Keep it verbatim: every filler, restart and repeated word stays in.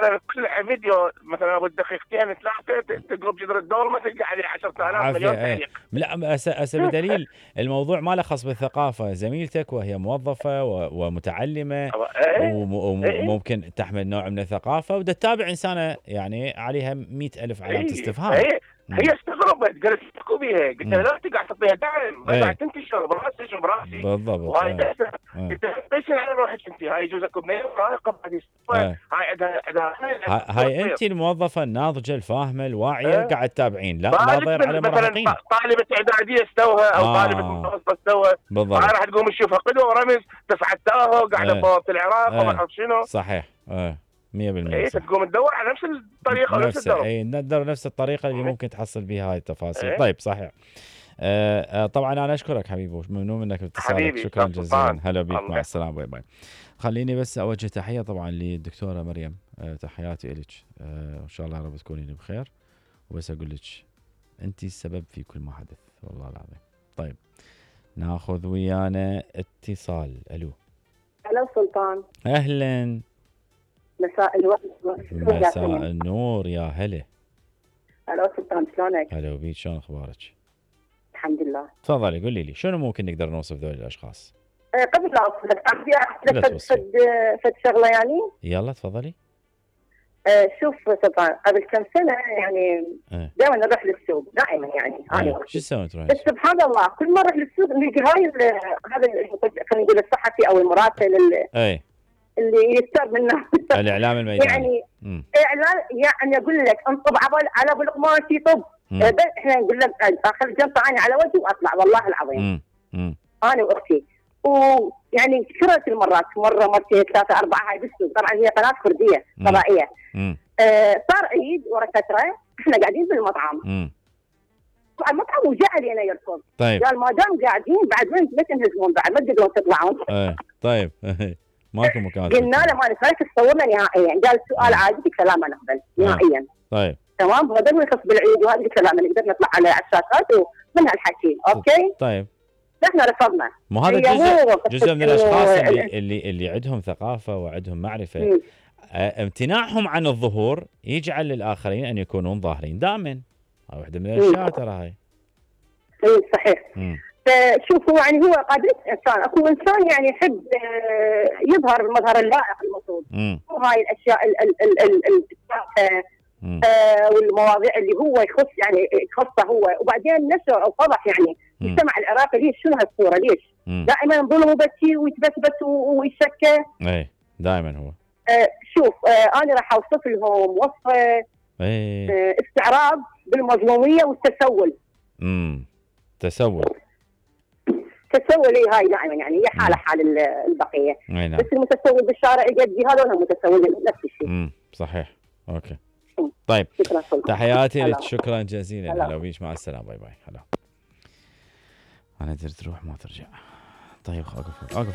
مثلا كل فيديو مثلا ابو دقيقتين ثلاثه تقلب جذر الدور ما تلقى عليه عشرة آلاف مليون تعليق. لا هسه بدليل الموضوع ما له خاص بالثقافه، زميلتك وهي موظفه ومتعلمه وممكن تحمل نوع من الثقافه ودا تتابع انسانه يعني عليها مئة ألف علامه استفهام. هي هي استغربت قالت احكوا بيها، قلت لها لا تقعد تعطيها دعم، ما قاعد تنتشر براسي براسي بالضبط. وهاي قلت لها ليش على روحك انت؟ هاي جوزك بنيه رايقه بعد هاي عندها عندها هاي انت الموظفه الناضجه الفاهمه الواعيه قاعد تتابعين، لا لا ضير على مراهقين. مثلا طالبه اعداديه استوها او آه. طالبه متوسطه استوها بالضبط، هاي راح تقوم تشوفها قدوه ورمز تسعة تاهو قاعده بوابه العراق وما اعرف شنو. صحيح اه مية بالمية. اي تقوم تدور على نفس الطريقه ونفس الدرب. اي ندور نفس الطريقه اللي ممكن تحصل بها هاي التفاصيل. ايه؟ طيب صحيح. آه طبعا انا اشكرك حبيبي ممنون منك باتصالك، شكرا جزيلا. هلا بيك، مع السلامه، باي باي. خليني بس اوجه تحيه طبعا للدكتوره مريم، آه تحياتي لك، آه ان شاء الله رب تكونين بخير، وبس اقول لك انت السبب في كل ما حدث والله العظيم. طيب ناخذ ويانا اتصال. الو. الو سلطان. اهلا. مساء الورد. مساء النور، يا هلا. الو سلطان، شلونك؟ هلا بيك، شلون اخبارك؟ الحمد لله. تفضلي قولي لي شنو ممكن نقدر نوصف ذول الاشخاص؟ أه قبل لا اوصلك ابي احكي لك فد فد شغله يعني. يلا تفضلي. أه شوف سلطان، قبل كم سنه يعني أه. دائما نروح للسوق دائما يعني أه. انا شو تسوي تروحين؟ بس سبحان الله كل ما اروح للسوق نلقى هاي هذا خلينا نقول الصحفي او المراسل اي اللي يستر منه الاعلام الميداني يعني مم. اعلان يعني اقول لك انطب على على ابو القماش يطب. أه احنا نقول لك اخذ جنطه عيني على وجهي واطلع والله العظيم. مم. مم. انا واختي ويعني كثرة المرات مره مرتين ثلاثه اربعه هاي بالسوق، طبعا هي قناه كرديه فضائيه. آه صار عيد ورا فتره احنا قاعدين بالمطعم. مم. طبعا المطعم وجاء علينا يركض. طيب قال ما دام قاعدين بعد وين ما تنهزمون بعد ما تقدرون تطلعون. ايه طيب ماكو مكان. قلنا له ما نسالك تصورنا نهائيا، قال السؤال عادي قلت له لا ما نقبل نهائيا. طيب تمام هذا ما يخص بالعيد وهذا قلت له لا ما نقدر نطلع على الشاشات ومن هالحكي اوكي. طيب احنا رفضنا. مو هذا جزء جزء من الاشخاص اللي اللي اللي عندهم ثقافه وعندهم معرفه. م. امتناعهم عن الظهور يجعل للاخرين ان يكونون ظاهرين دائما. هاي واحده من الاشياء ترى هاي. اي صحيح. م. فشوفوا يعني هو قابلت انسان، اكو انسان يعني يحب يظهر بالمظهر اللائق المفروض. وهاي الاشياء ال ال ال ال ال آه والمواضيع اللي هو يخص يعني يخصه هو، وبعدين نشر او فضح يعني المجتمع العراقي. ليش شنو هالصوره ليش؟ مم. دائما نظلم وبكي ويتبثبث ويشكى. اي دائما هو. آه شوف آه انا راح اوصف لهم وصفه آه استعراض بالمظلوميه والتسول. امم تسول. تسول اي هاي دائما يعني هي حاله حال البقيه. نعم. بس المتسول بالشارع يجدي هذول متسولين نفس الشيء. امم صحيح. اوكي. طيب تحياتي لك، شكرا جزيلا. هلا بيك، مع السلامه، باي باي. هلا. انا درت تروح ما ترجع. طيب اوقف اوقف